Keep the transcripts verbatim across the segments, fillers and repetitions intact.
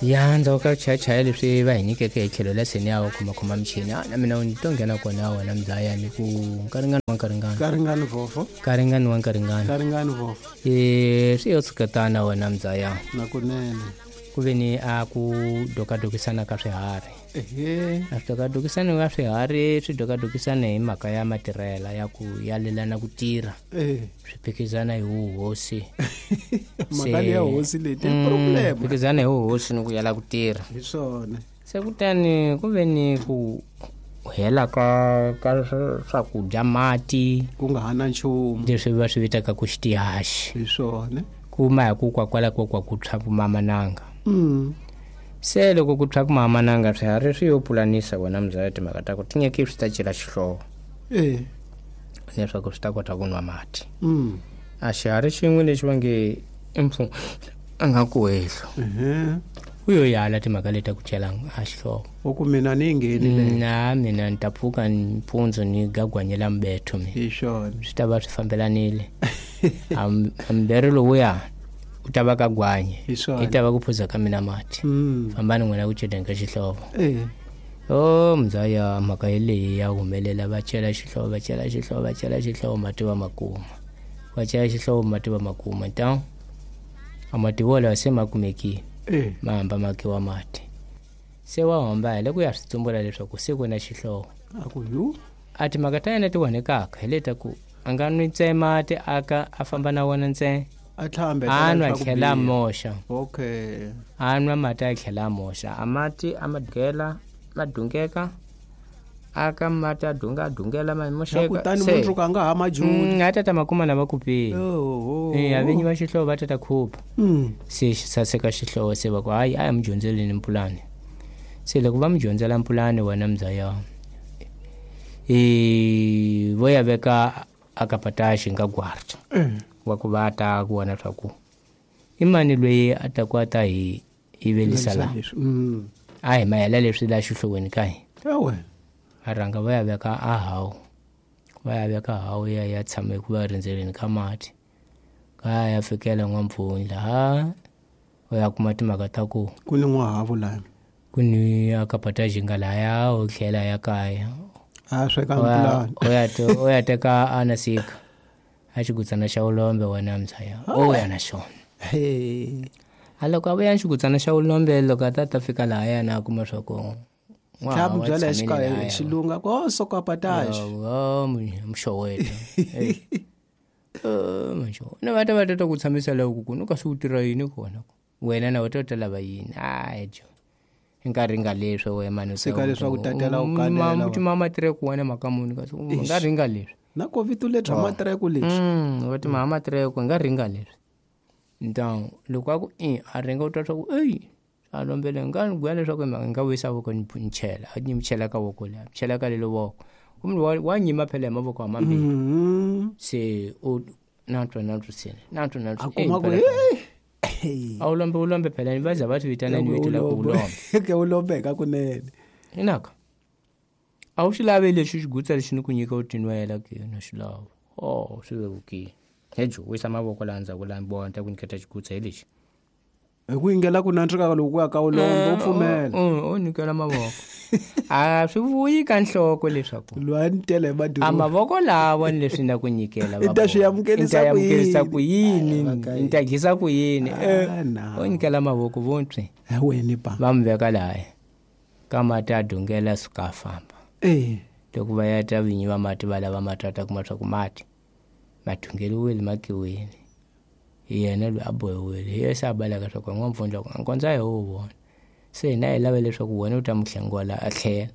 Ya ndzhaku ka chayachaya leswi va hi nyikeke hi tlhelo la seni ya khomakhoma michini a na mina ni to nghena kona wena mzaya ni ku nkaringani wa nkaringani nkaringani vofo nkaringani wa nkaringani nkaringani vofo e swi yo tshuketana wena mzaya na kunene ku ve ni a ku dokadokisana ka swiharhi ehe a swi dokadokisana ka swiharhi swi dokadokisana hi mhaka ya matirhela ya ku yalelana ku tirha eh swi phikizana hi wuhosi mhaka ya hosi leti problem phikizana hi wuhosi ni ku yala ku tirha hi swona se kutani ku ve ni ku hela ka ka swakudya mati ku nga ha na nchumu leswi va swi vitaka ku xitihaxi hi swona kuma hi ku kwakwala ko kwa ku tshwa ku mamananga mm se loko ku tshwa ku mamananga swiharhi swi yo pulanisa wena mzaya timhaka ta ku tinyeki swi ta cela xihlovo eh leswaku swi ta kota ku nwa mati mm a xiharhi xin'we lexi va nge i mpfu a nga ku hehlo ehe u yo yala timhaka leti ta ku cela a xihlovo u ku mina ni ngheni le na mina ni ta pfuka mpfundzu ni gagwanyela mbetho mina hi swona swi ta va swi fambelanile a mberi lowuya u ta va ka gwanye hi swona i ta va ku phuza ka mina mati mm fambani n'wina ku celeni ka xihlovo eh o mzaya mhaka yeleyi ya humelela va cela xihlovo va cela xihlovo va cela xihlovo mati va makuma va cela xihlovo mati va makuma ta a mati wolawo se ma kumekile eh ma hamba ma kiwa mati se wa hamba hi le ku ya swi tsumbula leswaku se ku na xihlovo a ku yu a timhaka ta yena ti onhekaka hi leta ku a nga nwi ntsena mati aka a famba na wona ntsena a tlhambe a nwa tlhela a moxa okay a nwa mati a tlhela a moxa a mati a ma dungela ma dungeka aka mati a dunga a dungela ma moxeka kutani mundzuku a nga ha majuli a tata makuma na va kupile oho eh a vinyi va xihlovo va tata khupa mm se xi saseka xihlovo se va ku hayi a hi mi dyondzeleni mpulani se loko va mi dyondzela mpulani wena mzaya e vo ya veka akapataxi nga gwarta eh wa ku va ta ku vona swa ku i mani loyi a ta ku a ta hi yivelisa la leswi mm a hi mahela leswi la xihloweni ka hi ewe a rhanga va ya veka a hawu va ya veka hawu ya ya tshama eku va rindzeleni ka mati ka ya fikela n'wampfundla ha u ya kuma timhaka ta ku ku ni n'wahavu lani ku ni akapataxi nga laya u tlhela ya kaya a sweka u ya- mpulani u ya te- u ya teka anasika a xigutsana xa ulombe wena mzaya o ya na xona he a loko a vuya xigutsana xa ulombe loko a ta ta fika lahaya na a kuma swa ku tlhamu byala hi xikaya xilunga ko sokapataxi muxoweta na va ta va ta ta ku tshamisa loko ku no kasi u tirha yini kona wena na u ta ta lava yini hayi jo hi nkarhi nga leswi wena mani Sika leswaku tatela u kanela wa. timama tireko wena mhaka muni kasi u nga ringa leswi na covid lebya matireko leswi Mm, va timhaka matireko hi nga ringa leswi ntangu loko a ku i a ringa u twa swa ku eyi a lombele nga ni gwa leswaku hi nga vuyisa voko ni ni chela a ni chela ka voko leri chela ka lelo voko kumbe wa, wa nyima phela hi mavoko hamambirhi Mhm. se u na twa na twa sene na twa na a twa kuma ku hey a wu lombe wu lombe phela ni va za va swi vitana ni vito la ku ulombe ke u lombeka kunene inaka a wu xi lavi lexi xigutsa lexi ni ku nyika u tinwela ke na xi lava oh swi vevukile hejo wisa mavoko laha ndzhaku laha vona ta ku nyiketa xigutsa hi lexi hi ku yingela ku nantswika loko ku ya ka ulombe u pfumela u nyikela mavoko a swi vuyi ka nhloko leswaku loyi a ni tele hi a maduru mavoko lawa ni leswi na ku nyikela I ta swi amukelisa i ta amukelisa ku ku yini Ai, ni ta dyisa ku yini Eh, Ah, na. u nyikela mavoko vontwi weni pa va mi veka lahaya ka mati a dungela suka a famba eh loko va ya ta vinyi va mati va lava mati va ta kuma swa ku mati ma dungeliwile ma kiwile hi yena loyi a bohiwile hi yena se a baleka swa ku n'wampfundla ku a kondza hi wu vona se hina hi lava leswaku wena u ta mu hlengola a tlhela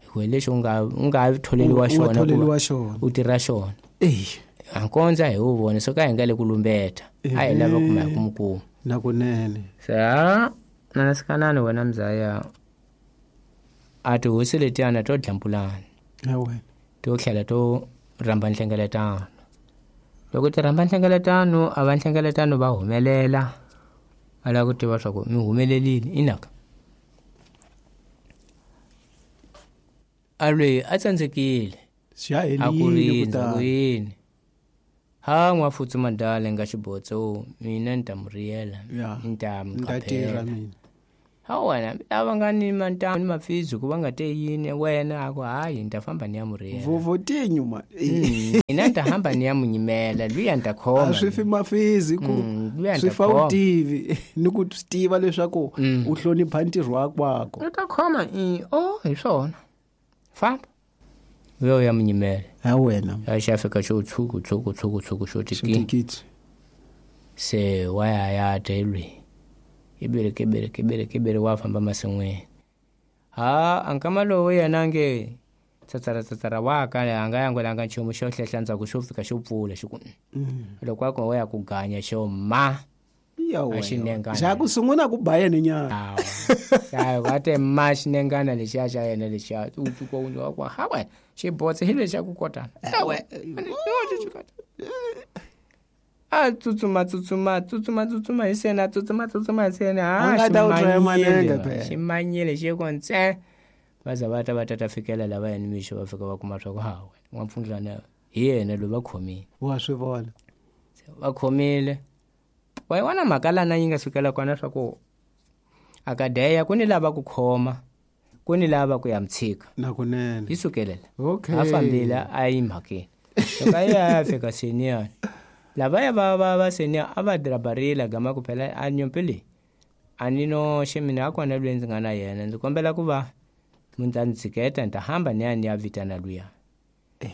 hikuva hi lexi u nga u nga tholeriwa U nga xona ku va tholeriwa xona. u tirha xona eh a kondza hi wu vona so ka hi nga le ku lumbeta a hi lava kuma hi ku mu kuma na kunene se ha nanasikanani wena mzaya a tihosi letiyana to dlampulana ewe to tlhela to rhamba nhlengeletano loko ti rhamba nhlengeletano a va nhlengeletano va humelela va lava ku tiva swa ku mi humelelile inaka a loyi a tsandzekile swi ya a ku helile rindza ku kutani yini ha n'wafutsu madala nga xibotso mina ni ta mu riyela Ya. ni ta mu ni ta tirha qaphela mina Ha wena lava nga ni mantamu ni mafizu ku va nga te yini wena a ku hayi ni ta famba ni ya murhela vovotinyu ma ina ni ta hamba ni ya munyimela luya ni ta khoma a swi fi mafizi ku swi fa u tivi ni ku swi tiva leswaku u hlonipha ntirho wa kwako u ta khoma i o hi swona famba uyo ya munyimela ha wena a xi fika xo tshuku tshuku tshuku tshuku xo tikiti se wa ya ya telwi ibere kebere kebere kebere wa famba masin'wini ha ankama lowu yena nge tsatsara tsatsara wa kale a nga yangwelanga nchumu xo hlehla ndzhaku xo fika xo pfula xi ku loko a ko wa ya ku ganya xo ma a xinengana xa ku sungula ku ba yena nyana hayi va te ma xinengana lexiya xa yena lexiya u pfuka u wa ku ha wena xibotse hi lexa ku kotana a tsutsuma tsutsuma tsutsuma tsutsuma hi sena tsutsuma tsutsuma hi sena a nga ta u traya manenge phela ximanyile xi ko ntse va za va ta va ta fikela lava yena mixo va fika va kuma swa ku ha wena n'wampfundlana hi yena loyi va khomile wa swi vona va khomile wa yi vona mhaka lana yi nga sukela kona swa ku akadeya ku ni lava ku khoma ku ni lava ku ya mtshika na kunene yi sukelela okay a fambile a yi mhakeni loko a ya fika senior lavaya va va va senior a va drabarila gama ku phela a nyimpi leyi a ni no xemina a kona loyi ndzi nga na yena ndzi kombela ku va mi ta ndzi tshiketa ni ta hamba ni ya ni ya vitana luya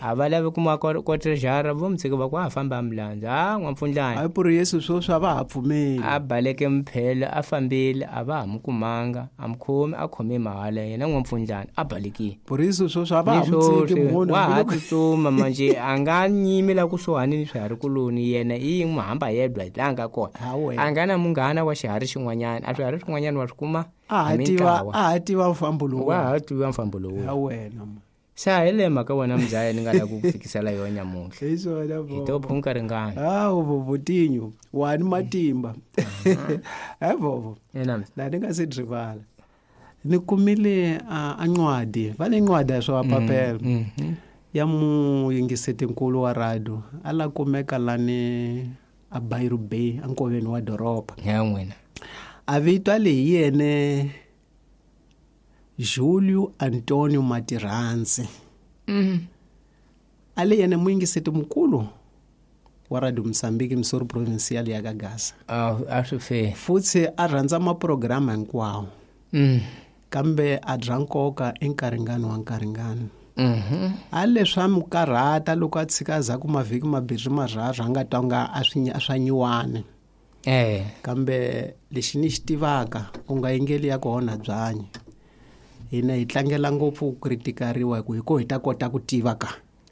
a va lavi kuma kotrejara vo mtshika va ku a famba a milandzu a n'wampfundlani hayi puri yesu sweswi a va ha pfumeli a baleke mphelo a fambile a va ha mu kumanga a mu khomi a khome mahala yena n'wampfundlani a balekile puri yesu sweswi a va ha mtshiki munhu wa ha tsutsuma manje a nga nyimi la kusuhani ni swiharhi-kuloni yena i yin'we hamba yedwa hi laha nga kona a nga na munghana wa xiharhi xin'wanyana a swiharhi swin'wanyana wa swi kuma a ha tiva a ha tiva mfambo lowu wa ha tiva mfambo lowu ha wena sa hi le mhaka wena mzaya ni nga la ku fikisela yona nyamuntlha hi swona hi to phunka ringana hawu vovotinyu wa ni matimba he vovo ena la ni nga se rivala ni kumile a ncwadi va le ncwadi ya swa papelo ya muyingisetinkulu wa radio a la kumeka lani a Bairu Bay ankoveni wa doroba ya n'wina a vitwa leyi yene Julio Antonio Matiranzi mm. ale yena muyingiseti mukulu wa Radio Mozambique Missouri Provincial ya Gagaza ah a swi fe futsi a rhandza maprograma hinkwawo mm. kambe a dya nkoka enkaringani wa nkaringani mm-hmm. a leswi a mu karhata loko a tshika za ku mavhiki mambirhi marharhu a nga twanga a swi a swa nyiwani eh kambe lexi ni xi tivaka u nga yingeli ya ku onha byanyi hina hi tlangela ngopfu ku kritikariwa hi ku hi ko hi ta kota ku tiva ka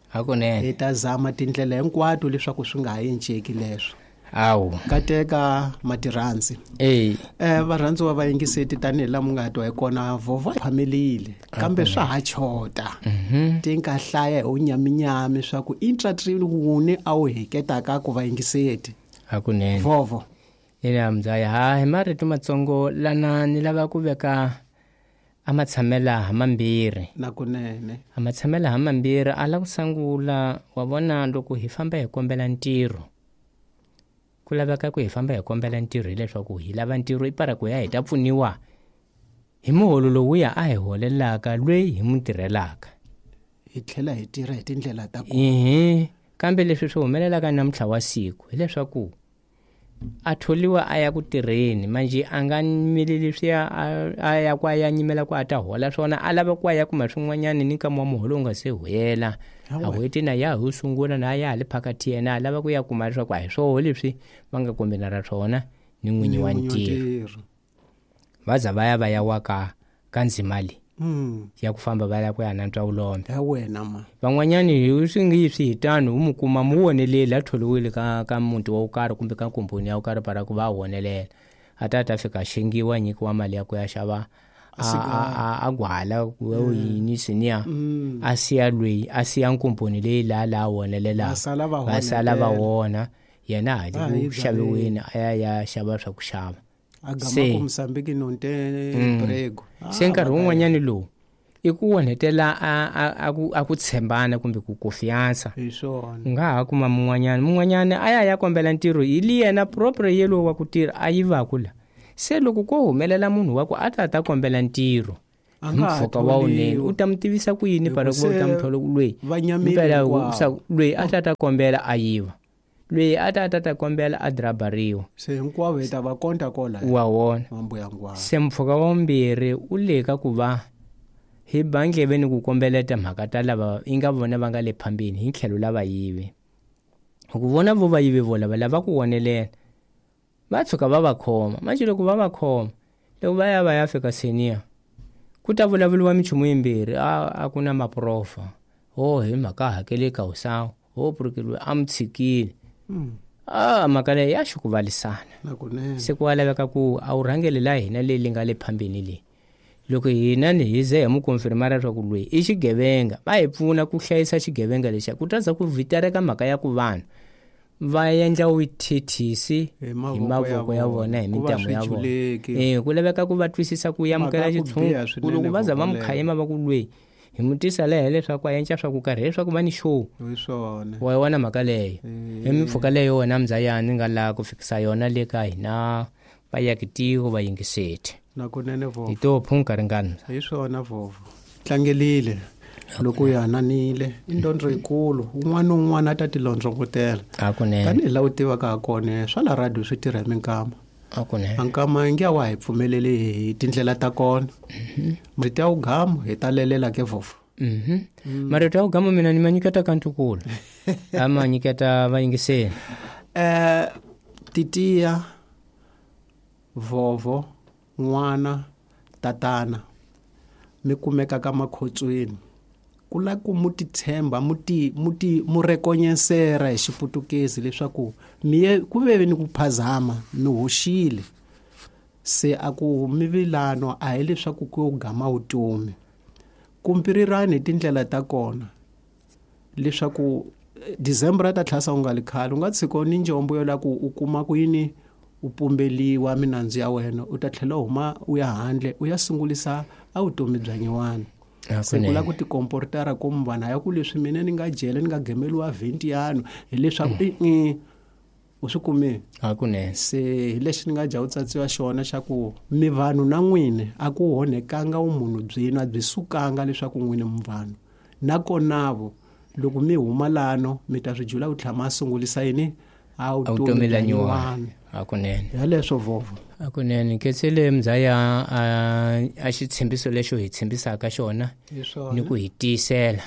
hakunene hi ta zama tindlela hinkwato leswaku swi nga ha enceki leswo awu kateka Matiranzi eh eh varhandziwa va yingiseti tanihi laha mu nga twa hi kona vhovho phamelile kambe swa ha chota ti nga hlaya hi unyaminyami swa ku intratrini wuni a wu heketaka ku va yingiseti hakunene vhovho ina mzaya ha hi marito matsongo lana ni lava ku veka a matshamela ha mambirhi na kunene a matshamela ha mambirhi a la ku sungula wa vona loko hi famba hi kombela ntirho ku laveka ku hi famba hi kombela ntirho hileswaku hi lava ntirho i para ku ya hi ta pfuniwa hi muholo lowuya a hi holelaka loyi hi mu tirhelaka hi tlhela hi tirha hi tindlela ta ku ehe kambe leswi swi humelelaka namuntlha wa siku hileswaku a tholiwa a ya ku tirheni manje a nga nyimeli leswiya a ya ku a ya nyimela ku a ta hola swona a lava ku a ya kuma swin'wanyana ni nkama wa muholo wu nga se hela a hweti na ya ho sungula na ya ha le phakathi yena a lava ku ya kuma leswaku a hi swoho leswi va nga kombela ra swona ni n'winyi wa ntirho va za va ya va ya wa ka ka ndzima leyi Mm. ya ku famba va ya ku ya nantswa vulombe ya wena ma van'wanyani hi swi ngi swi hi tano u mu kuma mu woneleli a tholiwile ka ka muti wa karhi kumbe ka komponi ya karhi para ku va wonelela a ta ta fika xengiwa nyikiwa mali ya ku ya xava a a gwala ku yini siniya a siya loyi a siya nkomponi leyi laha laha wonelelaka va sala va wona yena ha le ku xaviweni a ya ya xava swa ku xava a gama ku Mozambique non te emprego se nkarhi wun'wanyani lowu i ku onhetela a a ku a ku tshembana kumbe ku confiance hi swona u nga ha kuma mun'wanyana mun'wanyana a ya ya kombela ntirho hi li yena propre yelowo wa ku tirha a yivaku la Se loko ko humelela munhu wa ku a ta ta kombela ntirho mpfhuka wa wunene u ta mi tivisa ku yini para ku u ta mi thola loyi impela loyi a ta ta kombela a yiva loyi a ta ta ta kombela a drabariwa se hinkwavo hi ta va konta kola wa wona se mpfhuka wa vumbirhi u le ka ku va hi bandleve ni ku kombeleta mhaka ta lava yi nga vona va nga le phambeni hi tlhelo lava yivi ku vona vo va yivi vo lava lava ku wonelela va tshuka va va khoma manje loko va va khoma loko va ya va ya fika senior ku ta vulavuriwa minchumu yimbirhi a a ku na maprofa ho hi mhaka hakeleka usawu ho purukeliwe a mi tshikile a mhaka leyi ya xikuvalisana se ku laveka ku a wu rhangeli la hina leyi li nga le phambeni leyi loko hina ni hi ze hi mu konfirmara leswaku loyi i xigevenga va hi pfuna ku hlayisa xigevenga lexiya ku ta za ku vitereka mhaka ya ku vanhu va endla vuthithisi hi mavoko ya vona hi mintamu ya vona eh ku laveka ku va twisisa ku amukela xitshungu ku loko va za va mu khayima va ku loyi hi mu tisa lehe leswaku a endla swa ku karhi leswaku va ni show wa wona mhaka leyo hi mimpfhuka leyo wena mzayani nga laha ku fikisa yona le ka hina va yakitiko va yingiseti nakunene vovo hi to phunka ringana hi swona vovo tlangelile loko ya hananile i ndondro yikulu un'wana na un'wana a ta ti londzongotela tanihi laha u tivaka ha kona swa la radio swi tirha hi minkama ankama nge wa hi pfumeleli hi tindlela ta kona marito ya wugamu hi ta lelela ke vovo marito ya wugamu mina ni ma nyiketa ka ntukulu a ma nyiketa vayingiseli um titiya vovo n'wana tatana mi kumeka ka makhotsweni ku la ku mu titshemba mu ti mu ti mu rekonyesera hi xiputukezi leswaku mi ye ku ve ni ku phazama mi hoxile se a ku mivilano a hi leswaku ku yo gama vutomi kumpirirani hi tindlela ta kona leswaku December ta tlhasa u nga li khale u nga tshika ni njombo yo la ku u kuma ku yini u pumbeliwa minandzu ya wena u ta tlhela huma u ya handle u ya sungulisa a vutomi bya nyiwana se ku la ku tikomportara ku vanhu ya ku leswi mina ni nga jele ni nga gemeliwa vhenti yanu hileswaku i u swi kumile hakunene se hi lexi ni nga dya u tsatsiwa xona xa ku mi vanhu na n'wini a ku honekanga vumunhu byenu a byi sukanga leswaku n'wini mi vanhu nakonavo loko mi huma lano mi ta swi jula ku tlhama a sungulisa yini a vutomi la nyiwana hakunene yaleswo vovo hakunene nketsele mzaya a xitshembiso lexo hi tshembisaka xona ni ku hi tiyisela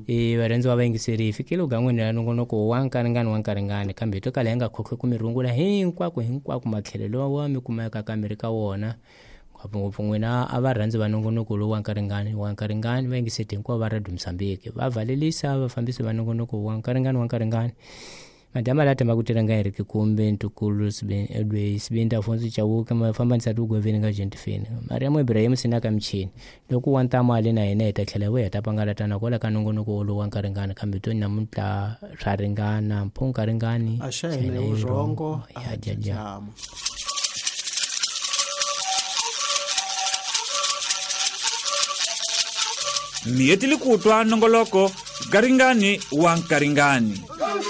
e varhandzi va vayingiseri hi fikile ugan'wini ra nongonoko wa nkaringani wa nkaringani kambe hi to kala hi nga khokhwe ku mi rungula hinkwako hinkwako matlhelo wa mi kumeka ka mi ri ka wona ngopfungopfu n'wina a varhandzi va nongonoko lowu wa nkaringani wa nkaringani va yingiseti hinkwavo va Radio Mozambique va valelisa vafambisi va nongonoko wa nkaringani wa nkaringani madama la tamba kutela nga Eric Kumbe Ntukulu Edway Sibinda Afonso Chauke mafambanisa tugweveni nga Gentifini Mariamu Ibrahim Sinaka Mchini loko wa ntamu ale na yena hi ta tlhela vuya ta pangalatana kwala ka nongonoko lowu wa nkaringani kambe to namuntlha swa ringana mpho nkaringani a xa hina vurhongo ya jaja Miyetili kutwa nongoloko garingani wa nkaringani.